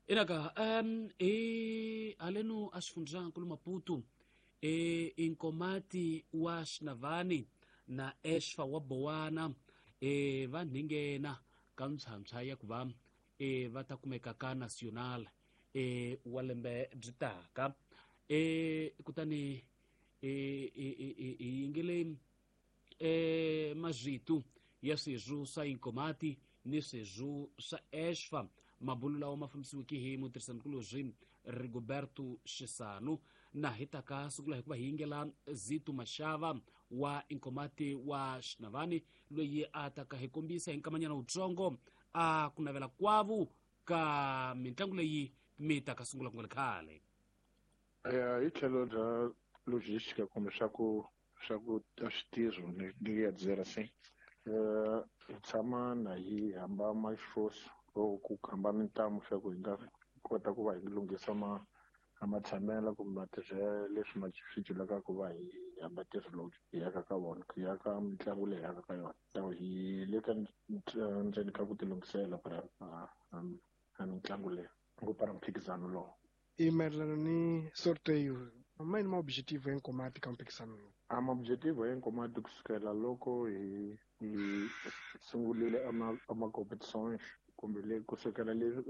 Inaka hi haleno a xifundzankulu Maputo e Inkomati wa Xinavani na Eshfa wa Bowana e va nhinghena ka ntlhantlha ya ku va e va ta kumeka ka National e wa lembe byi taka. E kutani e hi yingele e mazvitu ya swirho swa Inkomati ni swirho swa Eshfa. Mabulu lawa ma fambisiweke hi mutirhisanikulobye Rigoberto Xisanu. Na hi taka sungula hikuva hi yingela Zito Mashava wa Inkomati wa Xinavani, loyi a taka hi kombisa hi nkamanyana wutsongo a ku navela kwavu ka mitlangu leyi mi taka sungula ku nga ri khale. Hi tlhelo bya logistica kumbe swa ku a switirho ni ya dzera se hi tshama na hi hamba maxifosi or ku hamba mintamu swa ku hi nga kota ku va hi lunghisa matshamelo kumbe matirhelo leswi swi dyulaka ku va hi hamba ntirho lowu hi yaka ka vona, hi yaka mitlangu leyi yaka ka yona. So hi le ka ndzeni ka ku tilunghisela para mitlangu leyi ku para mphikizano lowu. I mayelana ni sorteio, ma yini ma-objetivo ya Nkomati ka mphikizano lowu? A ma-objetivo ya Nkomati kusukela loko hi sungurile ama competitions kumbe le kusukela le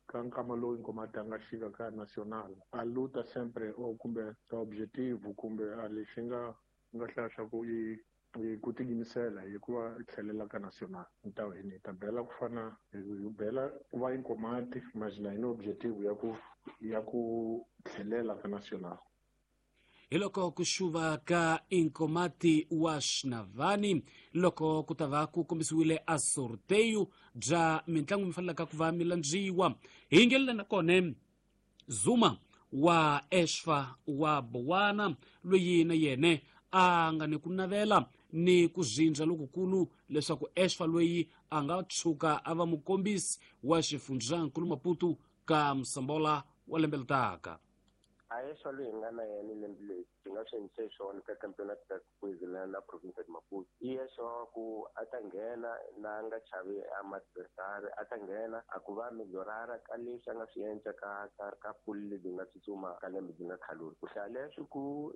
ka nkama lowu Nkomati a nga xika ka national, a luta sempre o kumbe objetivo kumbe a lexi nga hlaya swa ku i ku tiyimisela hi ku va tlhelela ka national. Ta hi ta bela ku fana hi bela ku va Nkomati mas na hi ni objetivo ya ku tlhelela ka national. Hi loko ku xuva ka Inkomati wa Xinavani loko ku ta va ku kombisiwile a sorteio bya mitlangu mi fanelaka ku va mi landziwa. Hi yingelela na kona Zuma wa Eshfa wa Bowana, loyi na yena a nga ni ku navela ni ku zindza lokukulu leswaku Eshfa loyi a nga tshuka a va mukombisi wa xifundzankulu Maputo ka Msambola wa lembe leri taka. A Eshfa loyi hi nga na yena lembe leri byi nga swi endlise swona ka campeonato da Kwezela na province de Maputo, i Eshfa ku a ta nghena na nga chavi a ma-adversary, a ta nghena a ku va meliorara ka leswi a nga swi endla ka ka ka pool lebyi nga tsutsuma ka lembe byi nga khaluli. Ku hlaya leswi ku